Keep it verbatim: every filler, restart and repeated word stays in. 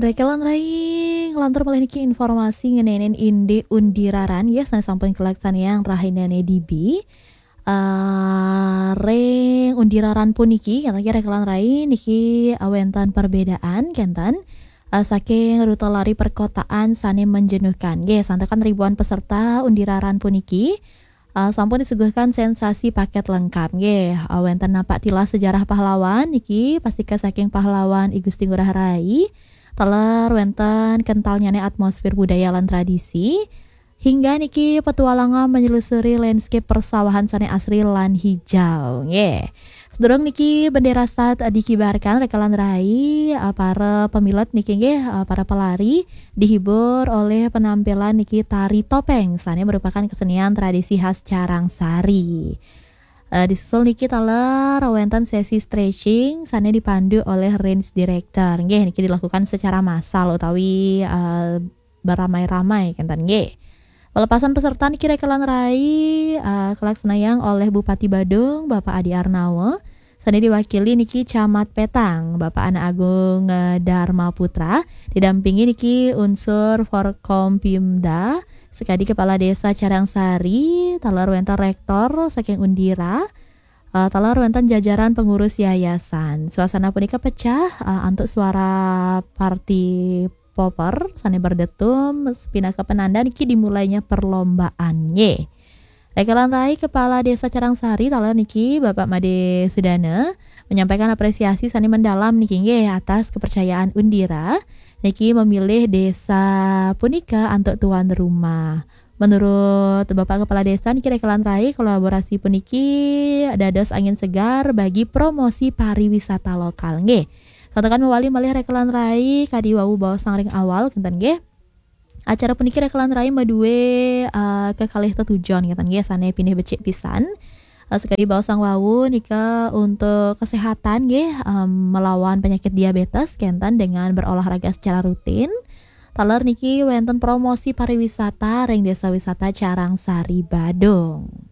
Rekelan rai, nglantur malih niki informasi ngeninin indik undi raran, ya, sané sampun kalaksanayang rahinane dibi. Eh, ring undi raran puniki, kenten nggih rekelan rai, niki, eh, wenten perbedaan, kenten, eh, saking rute lari perkotaan sané menjenuhkan. Nggih, santukan ribuan peserta undi raran puniki, eh, sampun disuguhkan sensasi paket lengkap. Nggih, eh, wenten napak tilas sejarah pahlawan niki, pastika saking pahlawan I Gusti Ngurah Rai. Taler wenten kentalnyane atmosfer budaya lan tradisi. Hingga niki petualangan menyelusuri landscape persawahan sané asri lan hijau. Nggih. Sedurung niki bendera start dikibarkan, rekelan rai, eh, para pemilet niki nggih, eh, para pelari dihibur oleh penampilan niki tari topeng sané merupakan kesenian tradisi khas Carangsari. Eh, disusul niki taler wenten sesi stretching sané dipandu oleh range director. Nggih, niki dilakukan secara massal utawi, eh, beramai-ramai, kenten nggih. Pelepasan peserta niki rekelan rai, eh, kalaksanayang oleh Bupati Badung, Bapak Adi Arnawa. Sané diwakili niki Camat Petang, Bapak Anak Agung, eh, Dharma Putra, didampingi niki unsur Forkompimda, sekadi Kepala Desa Carangsari, taler wenten rektor saking Undira, eh, taler wenten jajaran pengurus yayasan. Suasana punika pecah, eh, antuk suara party popper sané berdetum, pinaka penanda niki dimulainya perlombaan. Nggih. Rekelan rai Kepala Desa Carangsari taler niki Bapak Made Sudana menyampaikan apresiasi sané mendalam niki nggih atas kepercayaan Undira niki memilih desa punika antuk tuan rumah. Menurut Bapak Kepala Desa niki rekelan rai kolaborasi puniki dados angin segar bagi promosi pariwisata lokal. Nggih. Santukan mawali malih rekelan rai kadi wau baosang ring awal, kenten nggih. Acara puniki rekelan rai madue, eh, kekalih tetujon, kenten nggih, sané pinih becik pisan. Eh, sekadi baosang wau nika untuk kesehatan nggih, em, melawan penyakit diabetes, kenten dengan berolahraga secara rutin. Taler niki wenten promosi pariwisata ring Desa Wisata Carangsari Badung.